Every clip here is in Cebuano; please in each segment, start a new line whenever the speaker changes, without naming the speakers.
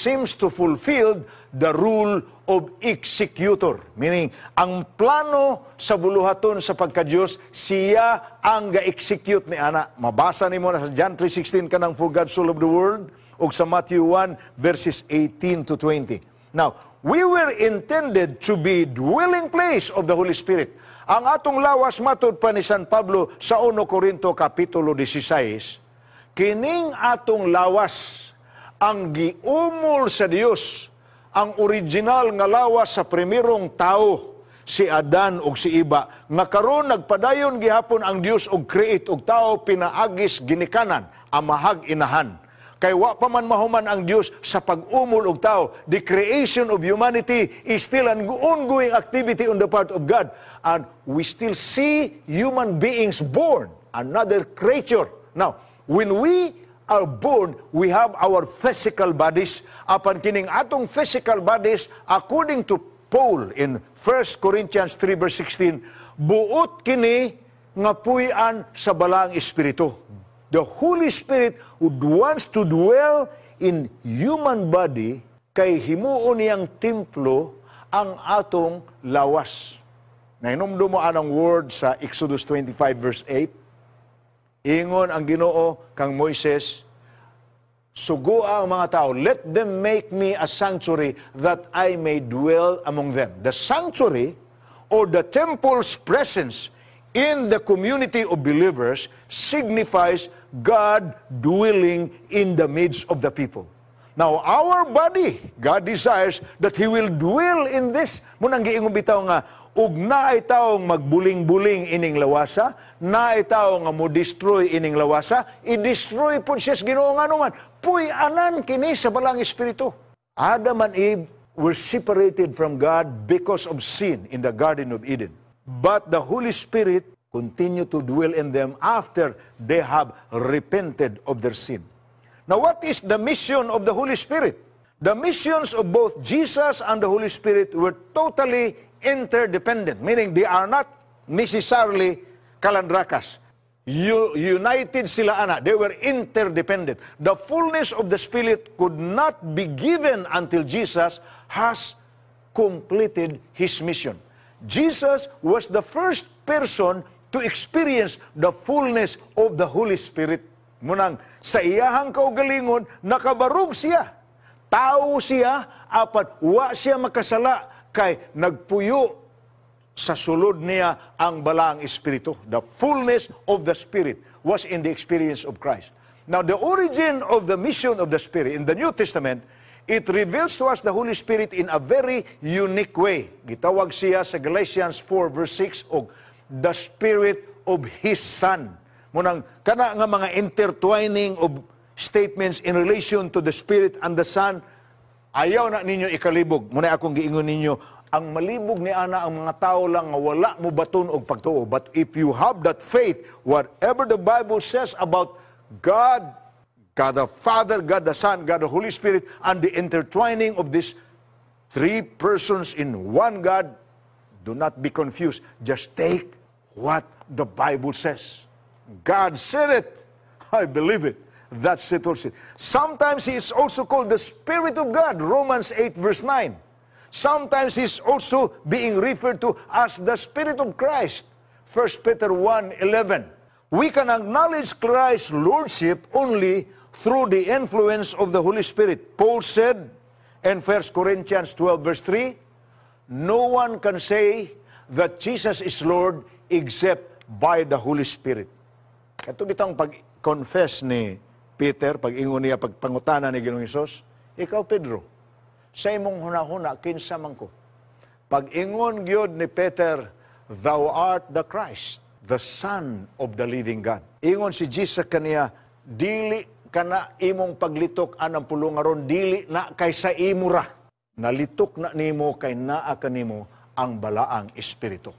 seems to fulfill the role of executor. Meaning, ang plano sa buluhaton sa pagka-Diyos, siya ang ga-execute ni ana. Mabasa nimo na sa John 3:16 kanang "For God so loved the world" ug sa Matthew 1 verses 18 to 20. Now, we were intended to be dwelling place of the Holy Spirit. Ang atong lawas, matud pa ni San Pablo sa 1 Corinto Kapitulo 16, kining atong lawas ang giumol sa Dios, ang original nga lawas sa primerong tao, si Adan ug si Iba, nga karon nagpadayon gihapon ang Dios og create og tao pinaagis ginikanan, amahag inahan. Kay wa pa man mahuman ang Dios sa pag-umol og tao. The creation of humanity is still an ongoing activity on the part of God. And we still see human beings born, another creature. Now, when we are born, we have our physical bodies. Apan kining atong physical bodies, according to Paul in 1 Corinthians 3 verse 16, buot kini nga puy-an sa Balaang Espiritu. The Holy Spirit would wants to dwell in human body kay himuon niyang templo ang atong lawas. Nahinumdum mo anang word sa Exodus 25 verse 8? Ingon ang Ginoo kang Moises, "Sugua ang mga tao, let them make me a sanctuary that I may dwell among them." The sanctuary or the temple's presence in the community of believers signifies God dwelling in the midst of the people. Now, our body, God desires that He will dwell in this. Mao nang giingon bitaw nga, ug naay taong magbuling-buling ining lawasa, naay tao nga mo destroy ining lawasa, i-destroy po siya sa Ginoo nga naman. Puy-anan kini sa Balaang Espiritu. Adam and Eve were separated from God because of sin in the Garden of Eden. But the Holy Spirit continued to dwell in them after they have repented of their sin. Now, what is the mission of the Holy Spirit? The missions of both Jesus and the Holy Spirit were totally interdependent, meaning they are not necessarily kalandrakas. United sila ana. They were interdependent. The fullness of the Spirit could not be given until Jesus has completed His mission. Jesus was the first person to experience the fullness of the Holy Spirit. Mao nang sa iyahang kaugalingon, nakabarog siya. Tao siya, apan wa siya makasala kay nagpuyo sa sulod niya ang Balaang Espiritu. The fullness of the Spirit was in the experience of Christ. Now, the origin of the mission of the Spirit in the New Testament, it reveals to us the Holy Spirit in a very unique way. Gitawag siya sa Galatians 4 verse 6 og the Spirit of His Son. Mao nang kana nga mga intertwining of statements in relation to the Spirit and the Son, ayaw na ninyo ikalibog. Mao na akong giingon ninyo, ang malibog ni ana ang mga tao lang nga wala mo baton og pagtuo. But if you have that faith, whatever the Bible says about God, God the Father, God the Son, God the Holy Spirit, and the intertwining of these three persons in one God, do not be confused. Just take what the Bible says. God said it. I believe it. That settles it. Sometimes He is also called the Spirit of God, Romans 8 verse 9. Sometimes He's also being referred to as the Spirit of Christ, 1 Peter 1:11. We can acknowledge Christ's Lordship only through the influence of the Holy Spirit. Paul said in 1 Corinthians 12 verse 3, "No one can say that Jesus is Lord except by the Holy Spirit." Kato bitang pag-confess ni Peter, pag-ingon niya, pagpangutana ni Ginoong Hesus, "Ikaw Pedro, sa imong hunahuna, kinsa man ko?" Pag-ingon gyud ni Peter, "Thou art the Christ, the Son of the living God." Ingon si Jesus kaniya, "Dili kana imong paglitok anang pulong aron, dili na kay sa imo ra. Nalitok na nimo kay naa kanimo ang Balaang Espiritu."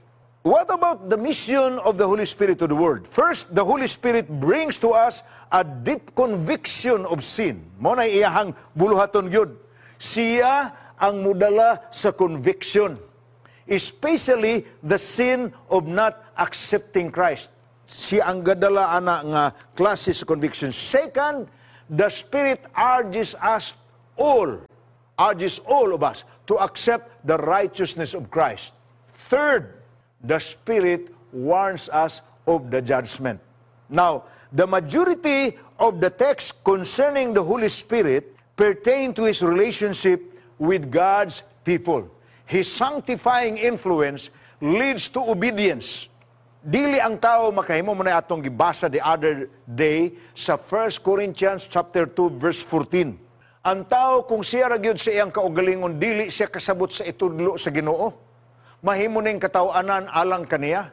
What about the mission of the Holy Spirit to the world? First, the Holy Spirit brings to us a deep conviction of sin. Mao na iyahang buluhaton gyud. Siya ang mudala sa conviction, especially the sin of not accepting Christ. Siya ang gadala ana nga klase sa conviction. Second, the Spirit urges us all Urges all of us to accept the righteousness of Christ. Third, the Spirit warns us of the judgment. Now, the majority of the text concerning the Holy Spirit pertain to His relationship with God's people. His sanctifying influence leads to obedience. Dili ang tao makahimo. Mo na atong gibasa the other day sa 1 Corinthians chapter 2 verse 14. Ang tao, kung siya ra gyud sa iyang kaugalingon, dili siya kasabot sa itudlo sa Ginoo. Mahimo ning kataw-anan alang kaniya.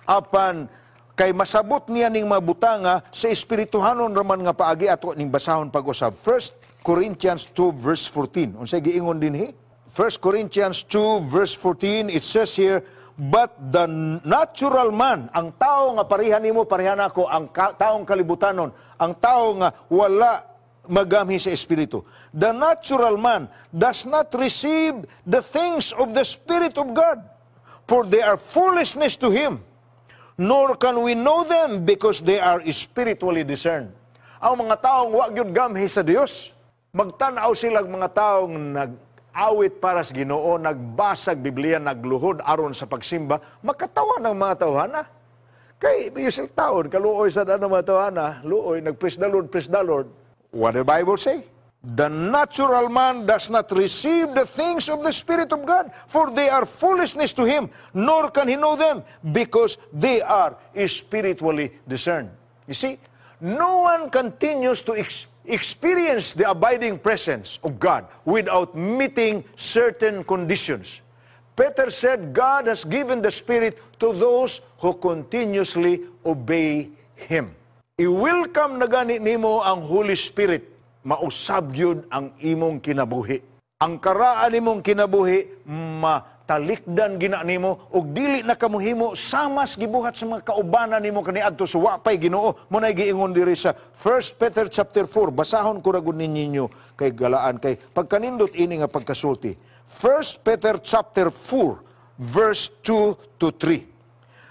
Apan kay masabot niya ning mabutanga sa espirituhanon raman nga paagi, ato ning basahon pag-usab. 1 Corinthians 2 verse 14. Unsay giingon dinhi? 1 Corinthians 2 verse 14, it says here, "But the natural man," ang tao nga pareha nimo, pareha nako, ang taong kalibutanon, ang tao nga wala magamhi sa Espiritu. "The natural man does not receive the things of the Spirit of God, for they are foolishness to him, nor can we know them because they are spiritually discerned." Ang mga taong wa gyud gamhi sa Dios, magtan-aw sila mga taong nag-awit para sa Ginoo, nagbasag Biblia, nagluhod aron sa pagsimba, makatawa ng mga tawhana. Kay bisil taon, kaluoy sa daan ng mga tawhana, luoy, nag-praise the Lord, praise the Lord. What the Bible say? "The natural man does not receive the things of the Spirit of God, for they are foolishness to him, nor can he know them, because they are spiritually discerned." You see, no one continues to experience the abiding presence of God without meeting certain conditions. Peter said God has given the Spirit to those who continuously obey Him. I-welcome na gani nimo ang Holy Spirit, mausab gyud ang imong kinabuhi. Ang karaan nimong kinabuhi, matalikdan gina nimo ug dili na kamuhimo samas gibuhat sa mga kaubanan nimo kaniadto sa wa pay Ginoo. Mo nay giingon diri sa 1 Peter chapter 4. Basahon ko ra gud ninyo kay galaan kay pagkanindot ini nga pagkasulti. 1 Peter chapter 4 verse 2 to 3,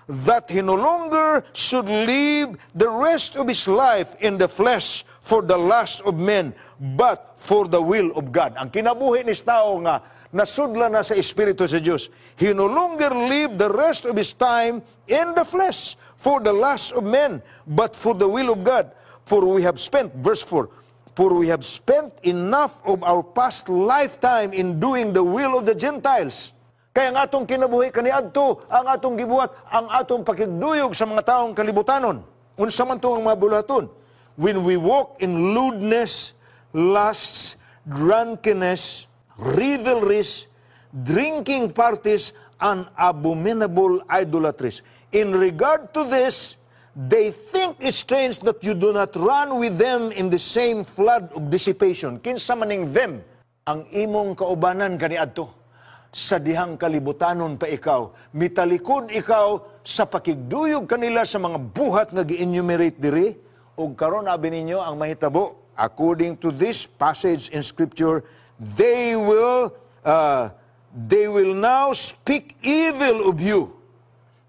"That he no longer should live the rest of his life in the flesh for the lust of men, but for the will of God." Ang kinabuhi ni tao nga nasudla na sa Espiritu sa Dios. He no longer live the rest of his time in the flesh for the lust of men, but for the will of God. For we have spent, verse 4, "For we have spent enough of our past lifetime in doing the will of the Gentiles." Kaya ang atong kinabuhi kaniadto, ang atong gibuhat, ang atong pakigduyog sa mga taong kalibutanon. Unsa man to ang mga buluhaton? "When we walk in lewdness, lusts, drunkenness, revelries, drinking parties, and abominable idolatries. In regard to this, they think it strange that you do not run with them in the same flood of dissipation." Kinsa maning "them"? Ang imong kaubanan kaniadto sa dihang kalibutanon pa ikaw, mitalikod ikaw sa pakigduyog kanila sa mga buhat nga gi-enumerate diri, ug karon abi ninyo ang mahitabo. According to this passage in Scripture, they will now speak evil of you,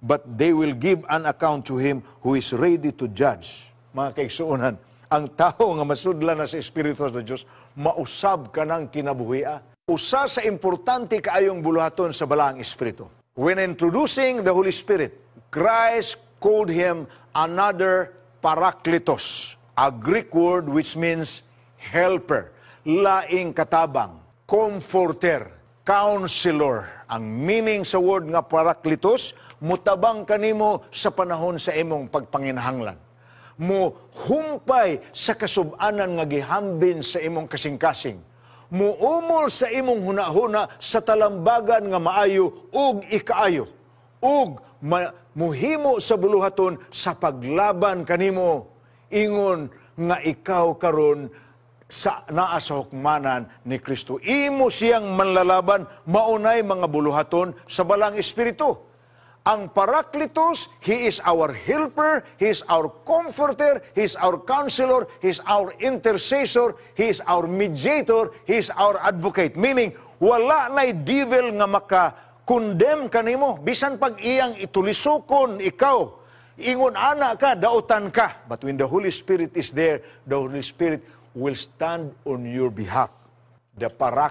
but they will give an account to Him who is ready to judge. Mga kaigsuonan, ang tao nga masudla na sa Espiritu sa Diyos, mausab ka ng kinabuhia. Usa sa importante kaayong buluhaton sa Balaang Espiritu. When introducing the Holy Spirit, Christ called him another Parakletos, a Greek word which means helper, laing katabang, comforter, counselor. Ang meaning sa word nga Parakletos, mutabang kanimo sa panahon sa imong pagpanginahanglan. Mo humpay sa kasubanan nga gihambin sa imong kasing-kasing. Muumol sa imong hunahuna sa talambagan nga maayo ug ikaayo. Ug muhimo sa buluhaton sa paglaban kanimo ingon nga ikaw karon sa naa sa hukmanan ni Kristo. Imo siyang manlalaban. Maunay mga buluhaton sa Balaang Espiritu. Ang Parakletos, He is our helper, He is our comforter, He is our counselor, He is our intercessor, He is our mediator, He is our advocate. Meaning, wala na'y devil nga maka-condemn kanimo. Bisan pag iyang itulisokon ikaw, ingon ana ka, dautan ka. But when the Holy Spirit is there, the Holy Spirit will stand on your behalf. The Parakletos.